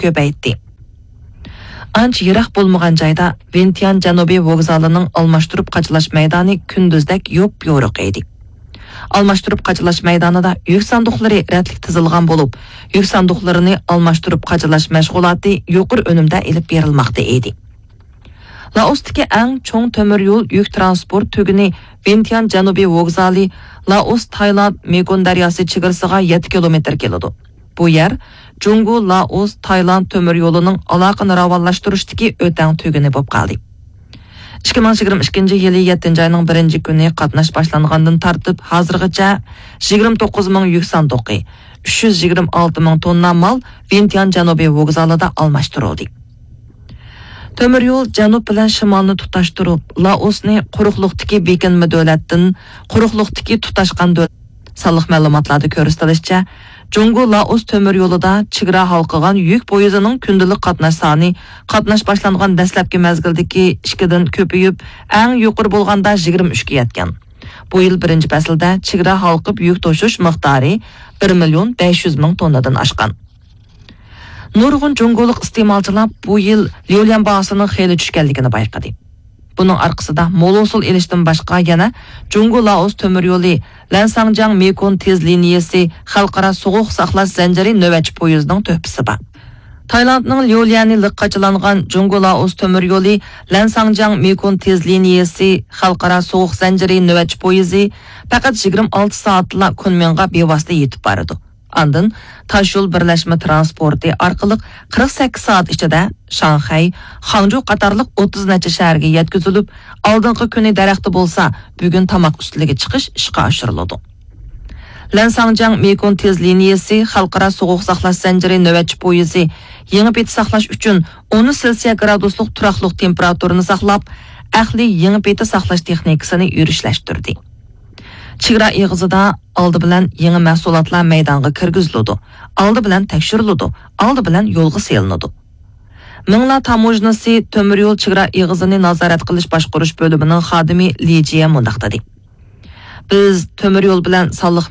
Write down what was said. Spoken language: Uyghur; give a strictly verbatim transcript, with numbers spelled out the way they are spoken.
كۆپەيتتى. ئانچە يىراق بولمىغان جايدا ۋىنتيان جەنۇبىي ۋوگزالىنىڭ ئالماشتۇرۇپ قاچىلاش مەيدانى كۈندۈزدەك يوپيورۇق ئىدى. ئالماشتۇرۇپ قاچىلاش مەيدانىدا يۈك ساندۇقلىرى رەتلىك تىزىلغان بولۇپ، يۈك ساندۇقلىرىنى ئالماشتۇرۇپ قاچىلاش مەشغۇلاتى يۇقىرى ئۈنۈمدە ئېلىپ بېرىلماقتا ئىدى. لائوستىكى ئەڭ چوڭ تۆمۈر يول يۈك تىرانسپورت تۈگۈنى ۋىنتيان جەنۇبىي ۋوگزالى، لائوس تايلاند مېكون دەرياسى چېگرىسىغا يەتتە كىلومېتىر كېلىدۇ. بۇ يەر جۇڭگو، لائوس، تايلاند تۆمۈر يولىنىڭ ئالاقىنى راۋانلاشتۇرۇشتىكى ئۆتەڭ تۈگۈنى بولۇپ قالدى. ئىككى مىڭ يىگىرمە ئىككىنچى يىلى يەتتىنچى ئاينىڭ بىرىنچى كۈنى قاتناش باشلانغاندىن تارتىپ ھازىرغىچە يىگىرمە توققۇز مىڭ يۈك ساندۇقى، ئۈچ يۈز يىگىرمە ئالتە مىڭ توننا مال ۋىنتيان جەنۇبىي ۋوگزالىدا ئالماشتۇرۇلدى. تۆمۈر يول جەنۇب بىلەن شىمالنى تۇتاشتۇرۇپ، لائوسنى قۇرۇقلۇقتىكى بېكىنمە دۆلەتتىن قۇرۇقلۇقتىكى تۇتاشقان دۆلەت. سانلىق مەلۇماتلاردا كۆرسىتىلىشىچە، جۇڭگو لائوس تۆمۈر يولىدا چېگرا ھالقىغان يۈك پويىزىنىڭ كۈندىلىك قاتناش سانى قاتناش باشلانغان دەسلەپكى مەزگىلدىكى ئىككىدىن كۆپىيىپ، ئەڭ يۇقىرى بولغاندا يىگىرمە ئۈچكە يەتكەن. بۇ يىل بىرىنچى پەسىلدە چېگرا ھالقىپ يۈك توشۇش مىقدارى بىر مىليون بەش يۈز مىڭ توننىدىن ئاشقان. نۇرغۇن جۇڭگولۇق ئىستېمالچىلار بۇ يىل ليۇليەن باھاسىنىڭ خېلى چۈشكەنلىكىنى بايقىدى. بۇنىڭ ئارقىسىدا مول ھوسۇل ئېلىشتىن باشقا يەنە جۇڭگو لائوس تۆمۈر يولى لەنساڭجياڭ مېكون تېز لىنىيەسى خەلقئارا سوغۇق ساقلاش زەنجىرى نۆۋەتچى پويىزىنىڭ تۆھپىسى بار. تايلاندنىڭ ليۇليەنى لىق قاچىلانغان جۇڭگو لائوس تۆمۈر يولى لەنساڭجياڭ مېكون تېز لىنىيەسى خەلقئارا سوغۇق زەنجىرى نۆۋەتچى پويىزى پەقەت يىگىرمە ئالتە سائەتلا كۇنمىڭغا بىۋاسىتە يېتىپ بارىدۇ. ئاندىن تاشيول بىرلەشمە تىرانسپورتى ئارقىلىق قىرىق سەككىز سائەت ئىچىدە شاڭخەي، خاڭجۇ قاتارلىق ئوتتۇز نەچچە شەھەرگە يەتكۈزۈلۈپ، ئالدىنقى كۈنى دەرەختە بولسا، بۈگۈن تاماق ئۈستىلىگە چىقىش ئىشقا ئاشۇرۇلىدۇ. لەنساڭجياڭ مېكون تېز لىنىيەسى خەلقئارا سوغۇق ساقلاش زەنجىرى نۆۋەتچى پويىزى يېڭى پېتى ساقلاش ئۈچۈن ئون سېلسىيە گرادۇسلۇق تۇراقلىق تېمپېراتۇرىنى ساقلاپ، ئەقلىي يېڭى پېتى ساقلاش تېخنىكىسىنى يۈرۈشلەشتۈردى. چېگرا ئېغىزىدا ئالدى بىلەن يېڭى مەھسۇلاتلار مەيدانغا كىرگۈزۈلىدۇ، ئالدى بىلەن تەكشۈرۈلىدۇ، ئالدى بىلەن يولغا سېلىنىدۇ. مىڭلا تاموژنىسى تۆمۈر يول چېگرا ئېغىزىنى نازارەت قىلىش باشقۇرۇش بۆلۈمىنىڭ خادىمى لى جيە مۇنداق دېدى: بىز تۆمۈر يول بىلەن سانلىق